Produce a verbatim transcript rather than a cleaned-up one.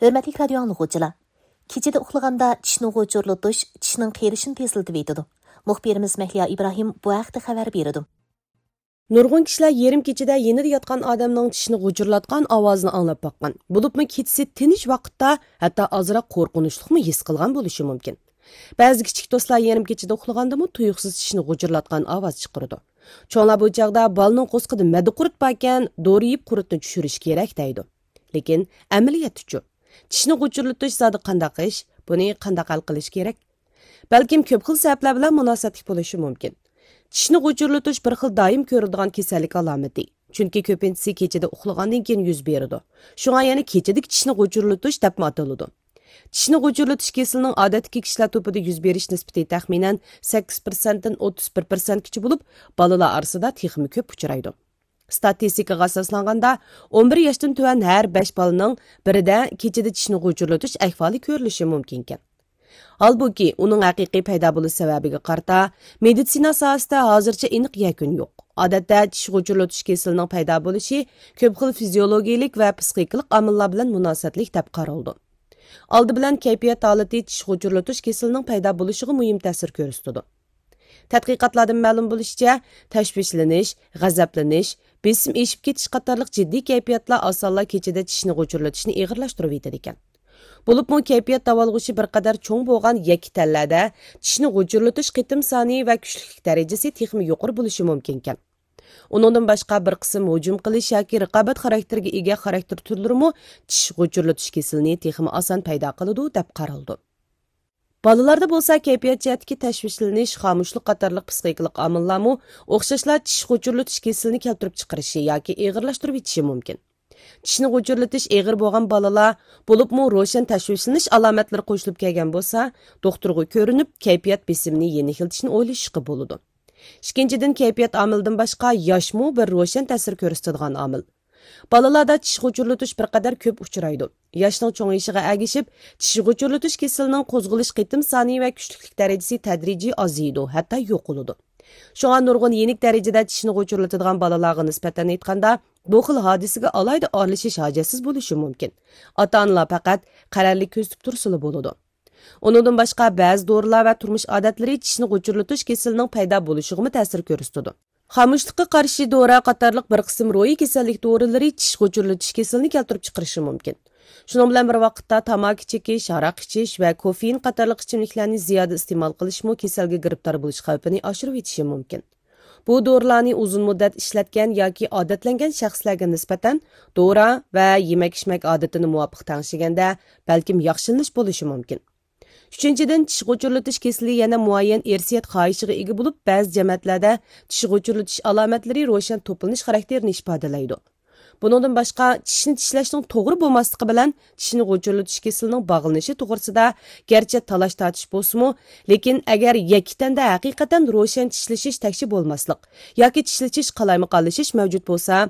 ھۆرمەتلىك رادىيو ئاڭلىغۇچىلار! كېچىدە ئۇخلىغاندا چىشنى غۇچۇرلىتىش چىشنىڭ قېرىشىنى تېزلىتىۋېتىدۇ. مۇخبىرىمىز مەھلىيا ئىبراھىم بۇ ھەقتە خەۋەر بېرىدۇ. نۇرغۇن كىشىلەر يېرىم كېچىدە يېنىدا ياتقان ئادەمنىڭ چىشنى غۇچۇرلاتقان ئاۋازىنى ئاڭلاپ باققان. بولۇپمۇ كېچىسى تىنچ ۋاقىتتا ھەتتا ئازراق قورقۇنچلۇقمۇ ھېس قىلغان بولۇشى مۇمكىن. بەزى كىچىك دوستلار يېرىم كېچىدە ئۇخلىغاندىمۇ تۇيۇقسىز چىشنى غۇچۇرلاتقان ئاۋاز چىقىرىدۇ. چوڭلار بۇ چاغدا بالىنىڭ قورسىقىدا مەددىقۇرت باركەن، دورا يەپ قۇرتنى چۈشۈرۈش كېرەك دەيدۇ. لېكىن ئەمەلىيەتتىچۇ؟ چىشنى غۇچۇرلىتىش زادى قانداق ئىش؟ بۇنى قانداق ھەل قىلىش كېرەك؟ بەلكىم كۆپ خىل سەۋەبلەر بىلەن مۇناسىۋەتلىك بولۇشى مۇمكىن. چىشنى غۇچۇرلىتىش بىر خىل دائىم كۆرۈلىدىغان كېسەللىك ئالامىتى. چۈنكى كۆپىنچىسى كېچىدە ئۇخلىغاندىن كېيىن يۈز بېرىدۇ. شۇڭا يەنە كېچىدىكى چىشنى غۇچۇرلىتىش دەپمۇ ئاتىلىدۇ. چىشنى غۇچۇرلىتىش كېسىلىنىڭ ئادەتتىكى كىشىلەر توپىدا يۈز بېرىش نىسبىتى تەخمىنەن سەككىز پىرسەنتتىن ئوتتۇز بىر پىرسەنتكىچە بولۇپ، بالىلار ئارىسىدا تېخىمۇ كۆپ ئۇچرايدۇ. ستاتىستىكىغا ئاساسلانغاندا، ئون بىر ياشتىن تۆۋەن ھەر بەش بالىنىڭ بىرىدە كېچىدە چىشنى غۇچۇرلىتىش ئەھۋالى كۆرۈلۈشى مۇمكىنكەن. ھالبۇكى، ئۇنىڭ ھەقىقىي پەيدا بولۇش سەۋەبىگە قارىتا، مېدىتسىنا ساھەسىدە ھازىرچە ئېنىق يەكۈن يوق. ئادەتتە، چىش غۇچۇرلىتىش كېسىلىنىڭ پەيدا بولۇشى كۆپ خىل فىزىيولوگىيىلىك ۋە پسىخىكىلىق ئامىللار بىلەن مۇناسىۋەتلىك دەپ قارىلىدۇ. ئالدى بىلەن كەيپىيات ھالىتى چىش غۇچۇرلىتىش كېسىلىنىڭ پەيدا بولۇشىغا مۇھىم تەسىر كۆرسىتىدۇ. تەتقىقاتلاردىن مەلۇم بولۇشىچە، تەشۋىشلىنىش، غەزەپلىنىش، بېسىم ئېشىپ كېتىش قاتارلىق جىددىي كەيپىياتلار ئاسانلا كېچىدە چىشنى غۇچۇرلىتىشنى ئېغىرلاشتۇرۇۋېتىدىكەن. بولۇپمۇ كەيپىيات داۋالغۇشى بىر قەدەر چوڭ بولغان يەككە تەنلەردە چىشنى غۇچۇرلىتىش قېتىم سانى ۋە كۈچلۈكلۈك دەرىجىسى تېخىمۇ يۇقىرى بولۇشى مۇمكىنكەن. ئۇنىڭدىن باشقا، بىر قىسىم ھۇجۇم قىلىش ياكى رىقابەت خاراكتېرىگە ئىگە خاراكتېر تۈرلىرىمۇ چىش غۇچۇرلىتىش كېسىلىنى تېخىمۇ ئاسان پەيدا قىلىدۇ، دەپ قارىلىدۇ. بالىلاردا بولسا كەيپىيات جەھەتتىكى تەشۋىشلىنىش، خامۇشلۇق قاتارلىق پسىخىكىلىق ئامىللارمۇ ئوخشاشلا چىش غۇچۇرلىتىش كېسىلىنى كەلتۈرۈپ چىقىرىشى ياكى ئېغىرلاشتۇرۇۋېتىشى مۇمكىن. چىشنى غۇچۇرلىتىش ئېغىر بولغان بالىلار، بولۇپمۇ روشەن تەشۋىشلىنىش ئالامەتلىرى قوشۇلۇپ كەلگەن بولسا، دوختۇرغا كۆرۈنۈپ، كەيپىيات بېسىمىنى يېنىكلىتىشنى ئويلىشىشقا بولىدۇ. ئىككىنچىدىن، كەيپىيات ئامىلىدىن باشقا ياشمۇ بىر روشەن تەسىر كۆرسىتىدىغان ئامىل. بالىلاردا چىش غۇچۇرلىتىش بىر قەدەر كۆپ ئۇچرايدۇ. ياشنىڭ چوڭىيىشىغا ئەگىشىپ، چىش غۇچۇرلىتىش كېسىلىنىڭ قوزغىلىش قېتىم سانى ۋە كۈچلۈكلۈك دەرىجىسى تەدرىجىي ئازىيىدۇ، ھەتتا يوقىلىدۇ. شۇڭا نۇرغۇن يېنىك دەرىجىدە چىشنى غۇچۇرلىتىدىغان بالىلارغا نىسبەتەن ئېيتقاندا، بۇ خىل ھادىسىگە ئالاھىدە ئارىلىشىش ھاجەتسىز بولۇشى مۇمكىن. ئاتا-ئانىلار پەقەت قەرەللىك كۆزىتىپ تۇرسىلا بولىدۇ. ئۇنىڭدىن باشقا، بەزى دورىلار ۋە تۇرمۇش ئادەتلىرى چىشنى غۇچۇرلىتىش كېسىلىنىڭ پەيدا بولۇشىغىمۇ تەسىر كۆرسىتىدۇ. خامۇشلۇققا قارشى دورا قاتارلىق بىر قىسىم روھىي كېسەللىك دورىلىرى چىش غۇچۇرلىتىش كېسىلىنى كەلتۈرۈپ چىقىرىشى مۇمكىن. شۇنىڭ بىلەن بىر ۋاقىتتا، تاماكا چېكىش، ھاراق ئىچىش ۋە كوفېئىن قاتارلىق ئىچىملىكلەرنى زىيادە ئىستېمال قىلىشمۇ كېسەلگە گىرىپتار بولۇش خەۋپىنى ئاشۇرۇۋېتىشى مۇمكىن. بۇ دورىلارنى ئۇزۇن مۇددەت ئىشلەتكەن ياكى ئادەتلەنگەن شەخسلەرگە نىسبەتەن، دورا ۋە يېمەك-ئىچمەك ئادىتىنى مۇۋاپىق تەڭشىگەندە، بەلكىم ياخشىلىنىش بولۇشى مۇمكىن. ئۈچىنچىدىن، چىش غۇچۇرلىتىش كېسىلى يەنە مۇئەييەن ئىرسىيەت خاھىشىغا ئىگە بولۇپ، بەزى جەمەتلەردە چىش غۇچۇرلىتىش ئالامەتلىرى روشەن توپلىنىش خاراكتېرىنى ئىپادىلەيدۇ. بۇنىڭدىن باشقا، چىشنى چىشلەشنىڭ توغرا بولماسلىقى بىلەن چىشنى غۇچۇرلىتىش كېسىلىنىڭ باغلىنىشى توغرىسىدا گەرچە تالاش-تارتىش بولسىمۇ، لېكىن ئەگەر يەككە تەندە ھەقىقەتەن روشەن چىشلىشىش تەكشى بولماسلىق ياكى چىشلىشىش قالايمىقانلىشىش مەۋجۇت بولسا،